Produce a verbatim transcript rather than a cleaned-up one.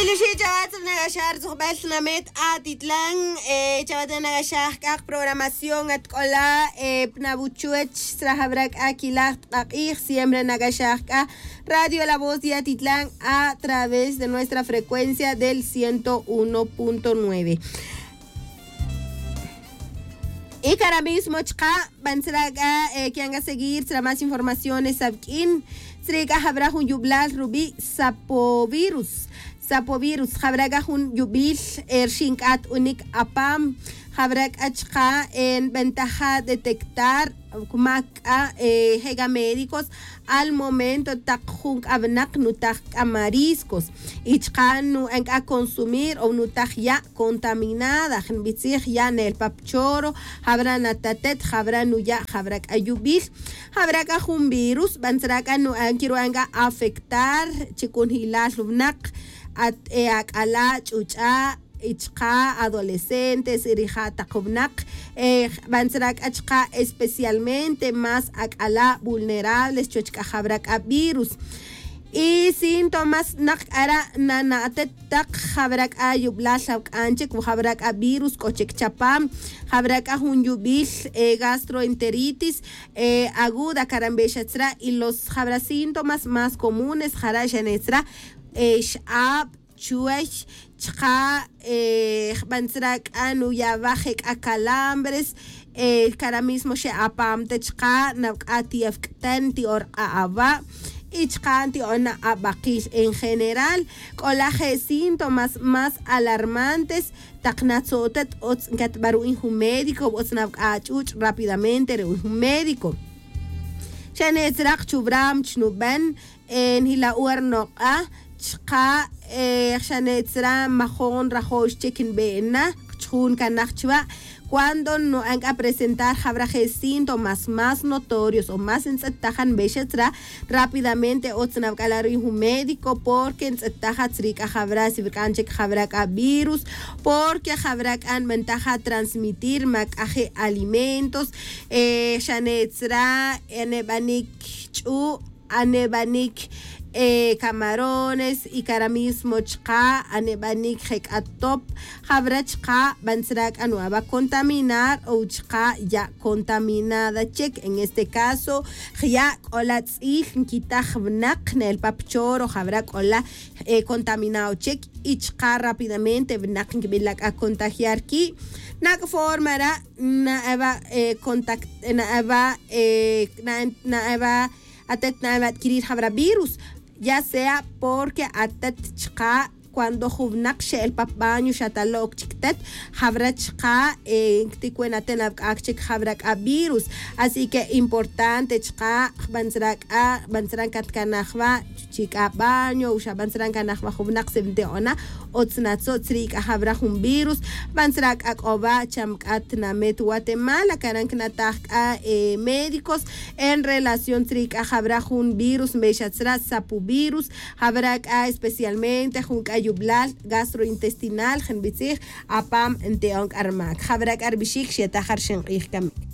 Tixi' chawatz ri nakaxaj ri tzujb'al tinamet atitlan. Chawatz nakaxaj k'a qaprogramación at k'ola' pnabuchuwech srajab'ra k'a kilaj tq'aq'ij siempre nakaxaj k'a radio la voz de atitlan a través de nuestra frecuencia del ciento uno punto nueve. Y cara mismo chqa' b'antzra k'a kian k'a seguir tzra más informaciones awk'in. Tzri k'a jab'ra jun yub'lal rub'i' sapovirus. Sapovirus jab'ra k'a jun yub'il rxin k'at unik apam. Jab'ra k'a chqa' nb'antaja detectar mak k'a je' k'a médicos al momento taq jun k'a winaq nutaj k'a mariscos y chqa' nu'an k'a consumir o nutaj ya' contaminada jnb'itzij ya' ne'el pa pchoro. Jab'ra natatet jab'ra nuya' jab'ra k'a yub'il. Jab'ra k'a jun virus b'antzra k'a nu'an kiru'an k'a afectar chi kunjilal winaq at ak'ala' ch'uch'a' y chqa' adolescentes y rija' taq winaq. B'antzra k'a chqa' especialmente más ak'ala' vulnerables chuwech k'a jab'ra k'a virus. Y síntomas naq k'ara' nana'tet taq jab'ra k'a yub'lal awk'an chik jab'ra k'a virus k'o chik chapam. Jab'ra k'a jun yub'il gastroenteritis aguda karanb'exa tzra y los jab'ra síntomas más comunes jara' xane' tzra x'ab', chuway chqa' jb'antzra k'a nuya' wa je' k'a calambres. Cara mismo xe' apam te chqa' nawk'a' ti'awk'tan ti'orq'a' awa' y chqa' nti'ona ab'aqil en general. K'ola' je' síntomas más alarmantes taq natzo'tet otz nkatb'a ru'in jun médico otz nawk'a' ach'uch' rápidamente ru'in jun médico. Xane' tzra qchub'ram chnub'an njila' uwa rinoq'a' chqa' xane' tzra majon rajo'x chik nb'e'na chjun kanaj chwa'. Cuando nu'an k'a presentar jab'ra je' síntomas más notorios o más ntz'ettajan nb'exa tzra rápidamente otz nawk'ala' ru'in jun médico porque ntz'ettaja tzri k'a jab'ra si rk'an chik jab'ra k'a virus porque jab'ra k'a nb'antaja transmitir ma k'a je' alimentos. Xane' tzra aneb'anik ch'u' aneb'anik camarones y cara mismo chqa' aneb'anik je' k'a top. Jab'ra chqa' b'antzra k'a nu'an wa contaminar o chqa' ya' contaminada chik en este caso jya' k'ola' tz'il nkitaj winaq ne'el pa pchoro jab'ra k'ola' contaminado chik y chqa' rápidamente winaq nkib'ila' k'a contagiar ki'. Nak'forma ra' na'an wa contact na'an wa na'an wa atet na'an wa adquirir jab'ra virus ya sea porque atet chqa' cuando jun winaq xe'el pa baño xa talo'k chik tet jab'ra chqa' nkitikwen aten awk'ak chik jab'ra k'a virus. Así que importante chqa' jb'antzra k'a jb'antzra nkatkanaj wa chi k'a baño o xa b'antzra nkanaj wa jun winaq si nti'ona otz natzo' tzri k'a jab'ra jun virus. Jb'antzra k'a k'o wa cham k'a tinamet guatemala karan kinataj k'a médicos en relación tzri k'a jab'ra jun virus nb'exa tzra sapovirus. Jab'ra k'a especialmente jun k'a yub'lal gastrointestinal je' nb'itzij apam nti'on k'a rmak jab'ra k'a rb'ixik xetaj rxin q'ij kamik.